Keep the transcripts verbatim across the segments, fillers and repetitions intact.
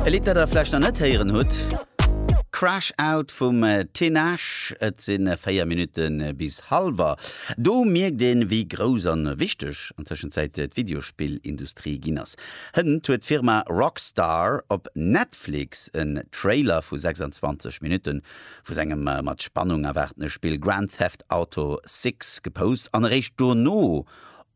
E Lidd, dat der vläicht nach net héieren hutt, Crash Out vum Tinashe. Et si véier Minutte bis hallwer. Do mierkt een, wéi grouss an wichteg an Tëschenzäit d'Videospillindustrie ginn ass. Hënt huet d'Firma Rockstar op Netflix en Trailer vu sechsanzwanzeg Minutte vu sengem mat Spannung erwaartene Spill Grand Theft Auto sechs gepost an eréischt dono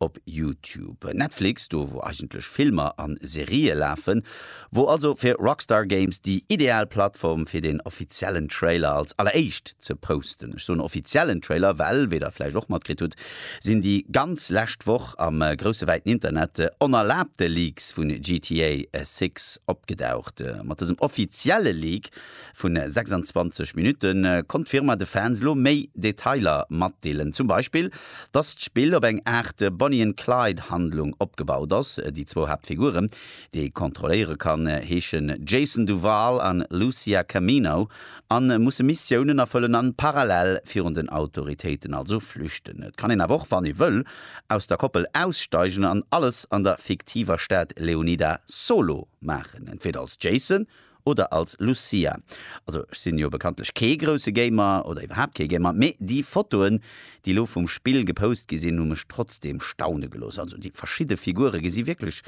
op YouTube. Netflix, do wou eigentlech Filmer a Serië lafen, wor also fir Rockstar Games déi ideal Plattform fir den offiziellen Trailer als alleréischt ze posten. Ech soen offiziellen Trailer, well, wéi der vläicht och matkritt hutt, sinn déi ganz lescht Woch am grousse wäiten Internet onerlaabte Leaks vun G T A sechs opgedaucht. Mat dësem offizielle Leak vun sechsanzwanzeg Minutte konnt d'Firma de Fans lo méi Detailer matdeelen. Zum Beispill, dass d'Spill op eng Aart Bonnie and Clyde Handlung opgebaut ass. Déi zwou Haaptfiguren, déi ee kontrolléiere kann, heeschen Jason Duval an Lucia Camino an musse Missiounen erfëllen an parallel virun den Autoritéiten also flüchten. Et kann een awer och, wann ee wëll, aus der Koppel aussteigen an alles an der fiktiver Stad Leonida solo maachen, entweder als Jason oder als Lucia. Also ech sinn jo bekanntlech kee grousse Gamer oder iwwerhaapt kee Gamer, mee déi Fotoen, déi lo vum Spill gepost gi sinn, hu mech trotzdeem staune gelooss. Also déi verschidde Figure gesi wierklech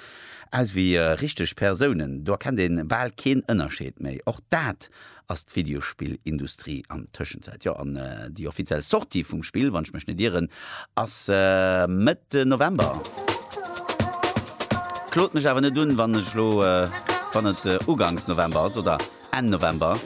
aus wéi richteg Persounen, do erkennt ee bal keen Ënnerscheed méi. Och dat ass d'Videospillindustrie an Tëschenzäit. Jo, an déi offiziell Sortie vum Spill, wann ech mech net ieren, ass Mëtt November. Klot mech awer net un, wann ech lo, wann et ugangs November ass oder Enn November.